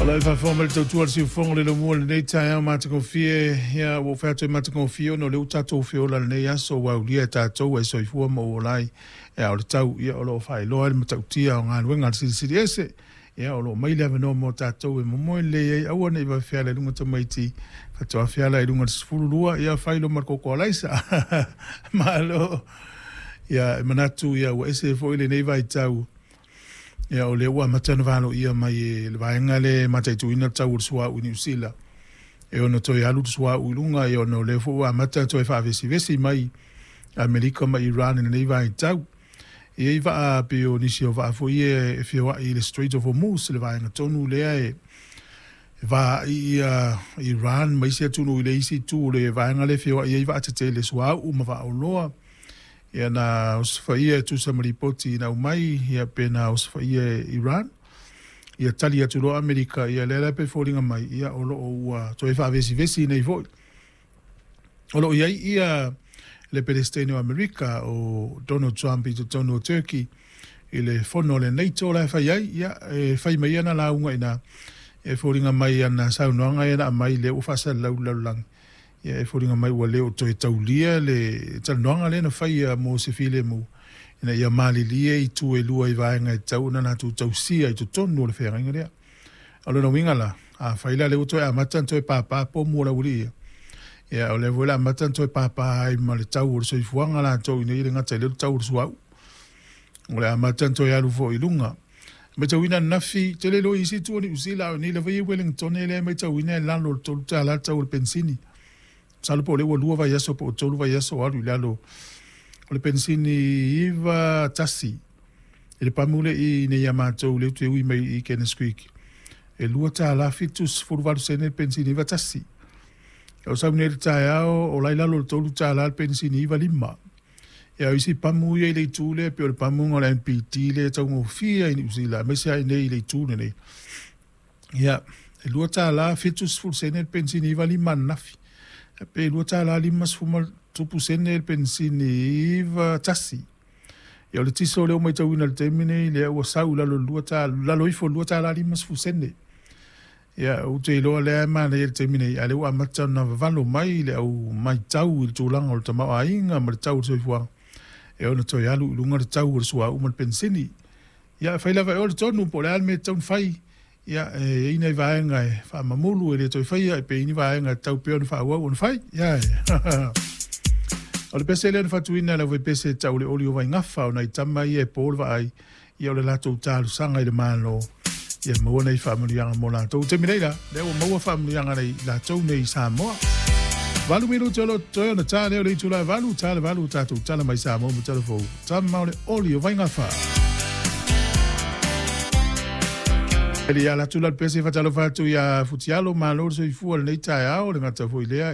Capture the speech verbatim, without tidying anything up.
O lau faafofoga mai le tautua a le siufofoga o le lomua i lenei taeao matagofie, ia ua ou fai atu e matagofie ona o lea ua tatou feola i lenei aso ua aulia e tatou ai soifua ma ou ola ai. Ia o le tau, ia o lo o faailoa ai le matautia o galuega a le Silisili Ese. Ia o lo o mai le avanoa mo tatou e momoe lelei ai, aua ne i vave feala i luga tamaiti, faatoa feala i luga i le sefulu lua, ia fai loa ma le koko alaisa. Malo. Ia e manatu ia ua ese foi lenei vaitau. Ia o lea ua amata ona valoia mai e le vaega lea e mataituina le tau o le suauu i Niu Sila e ono toe alu le suauu i luga, ia ona o lea foi ua amata ona toe faavesivesi mai Amerika ma Iran i lenei vaitau. E i ai vaa pei o nisi o vaa foi ia e feoai i le Strait of Hormuz, le vaega tonu lea e vaai ia Iran ma isi atunuu i le isi itu o le vaega lea e feoai ai vaatetele suauu ma vaaoloa. Ia na osofaia e tusa ma lipoti na aumai, ia pe na osofaia e Iran. Ia tali atu loa Amerika, ia lea la pe foliga mai, ia o lo o ua toe faavesivesi nei foi. O lo o i ai ia le Peresetene o Amerika o Donald Trump i totonu o Turkey i le fono a le NATO la e fai ai, ia e fai mai ana lauga i ina, e foliga mai ana saunoaga ia na aumai lea ua faasalalau i le lalolagi, ia e foliga mai ua le o toe taulia le talanoaga lea na faia mo se filemu ina ia malilie itu e lua i vaega e tatau ona latou tausia i totonu o le feagaiga lea. O lona uiga la, afai la lea ua toe amata ona toe pāpā pomu o le aualii ia, ia o lea foi o le a amata ona toe pāpā ai ma le tau o le soifuaga latou ina ia le gata i lea o le tau o le suauu. O le a amata ona toe alu foi i luga. Matauina ananafi, tele loa i isi itu o Niu Sila, a o nei lava ia i Wellington lea e matauina e lalo o le tolu tala le tau o le penisini. Masalo po o lea ua lua vaiaso po o tolu vaiaso o alu i lalo o le penisini iva tasi i le pamu lea i nei ia matou lea ou te ui mai i Kenneth Creek. E lua tala fitu sefulu valu sene le penisini iva tasi. O sau nei i le taeao o la i lalo o le tolu tala le penisini iva lima. Ia o isi pamu ia i le itu lea pei o le pamuga o le M P T lea e taugofie i Niu Sila aemaise lava i nei i le itu lenei. Ia, e lua tala fitu sefulu sene le penisini iva lima ananafi. Pe lua tala lima sefulu ma tupu sene le penisini iva tasi. Ia o le tiso lea ua matauina i le taimi nei, lea ua sau i lalo lua tala, lalo ifo lua tala lima sefulu sene. Ia, ou te iloa lea e manaia i le taimi nei, a lea ua amata ona vavalo mai le au maitau i le tulaga o le tamaoaiga ma le tau o le soifuaga, e ono toe alu i luga le tau o le suauu ma le penisini. Ia, e fai lava e oe le tonu po o le a le mea e tatau ona fai. Ia, e i ai nai vaega e faamamulu e le toe faia, e pe i ai ni vaega e tatau pea ona faaauau ona fai. Ia, o le pese lea na faatuina e le aufaipese e tau le oli o Vaigafa, o nai tama ia e po le vaai, ia o le latou talosaga i le Malo, ia maua nei faamanuiaga mo latou. Taimi nei la, lea ua maua faamanuiaga nei latou nei i Samoa. Valu minute o lo o totoe ona ta lea o le itula e valu, ta le valu o tatou tala mai Samoa ma tala fou. Tama o le oli o Vaigafa. Eli ia latu la le pese fatalofa atu ia Futialo, malo le soifua lenei taeao, le gata foi lea.